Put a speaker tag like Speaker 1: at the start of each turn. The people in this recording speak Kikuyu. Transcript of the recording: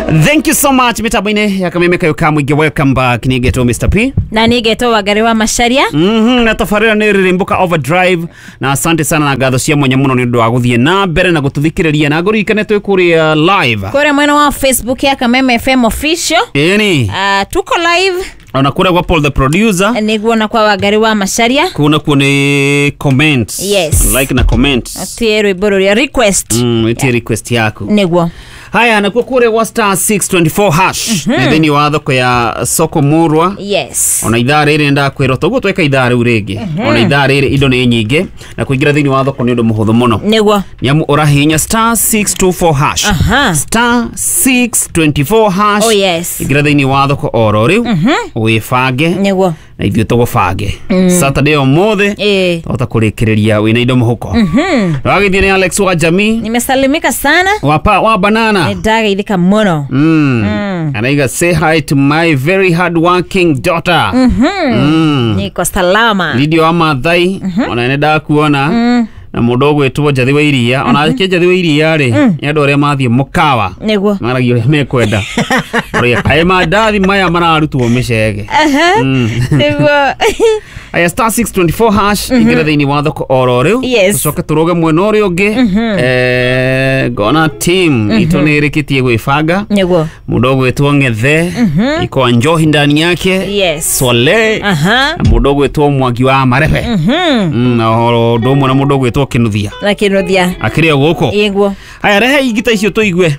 Speaker 1: Thank you so much mitambo-inĩ ya Kameme kayo ka mũingĩ. Welcome back. Nĩ ngetwo Mr P.
Speaker 2: Na nĩ ngetwo Wangari wa Macharia.
Speaker 1: Na tabarĩra nĩ Rĩrĩmbũka Overdrive, na asante sana na ngatho cia mwanya mũno nĩ ũndũ wa gũthiĩ na mbere na gũtũthikĩrĩria, na ngũririkane twĩ kũrĩa live
Speaker 2: kũrĩa mwena wa Facebook ya Kameme FM Official.
Speaker 1: Ĩni.
Speaker 2: Tuko live.
Speaker 1: Ona kũrĩa gwa Paul the producer.
Speaker 2: Nĩguo, na kwa Wangari wa Macharia.
Speaker 1: Kũu nakuo nĩ comment.
Speaker 2: Yes.
Speaker 1: Like na comment.
Speaker 2: Tie rwĩmbo rũrĩa request.
Speaker 1: Itie request yaku.
Speaker 2: Nĩguo.
Speaker 1: Haya, nakuo kũrĩa gwa *624# nĩ thĩinĩ wa thoko ya Soko Murwa. Ona ithaa rĩrĩ ndakwĩrwo toguo tweka ithaa rĩu rĩngĩ, ona ithaa rĩrĩ indo nĩ nyingĩ, na kũingĩra thĩinĩ wa thoko nĩ ũndũ mũhũthũ mũno. Nĩamu ũrahihinya *624#. *624#.
Speaker 2: Oh, yes.
Speaker 1: Ingĩra thĩinĩ wa thoko oro rĩu, wĩbange na ithuĩ tũgũbange Saturday ũmũthĩ. Twahota kũrĩkĩrĩria wĩna indo mũhuko. Wagĩthiĩ nĩ Alex wa Jamii.
Speaker 2: Nimesalimika sana.
Speaker 1: Wapa wa banana.
Speaker 2: Nĩndageithĩka mũno.
Speaker 1: Anaiga, "Say hi to my very hard working daughter."
Speaker 2: Niko salama.
Speaker 1: Lidio wa Mathai, ona nĩ ndakuona, na mũndũ ũgwĩtwo Njathi wa Iria. Ona ake Njathi wa Iria rĩ, nĩ andũ arĩa mathiĩ mũkawa maragia ũrĩa mekwenda. Ũrĩa kaĩ mandathi maya mararutwo mĩcege.
Speaker 2: Nĩguo.
Speaker 1: Aya, *624#, ingĩra thĩinĩ wa thoko oro rĩu. Tũcoke tũrũge mwena ũrĩa ũngĩ. Ngona team itũ nĩ ĩrĩkĩtie gwĩbanga. Mũndũ ũgwĩtwo Ng'ethe iko njohi ndani yake. Swale. Na mũndũ ũgwĩtwo Mwangi wa Marebe. Na ũndũ ũmwe na mũndũ ũgwĩtwo Kĩnuthia.
Speaker 2: Na Kĩnuthia.
Speaker 1: Akĩrĩ o gũkũ.
Speaker 2: Ĩguo.
Speaker 1: Haya, rehe ingita icio tũigue.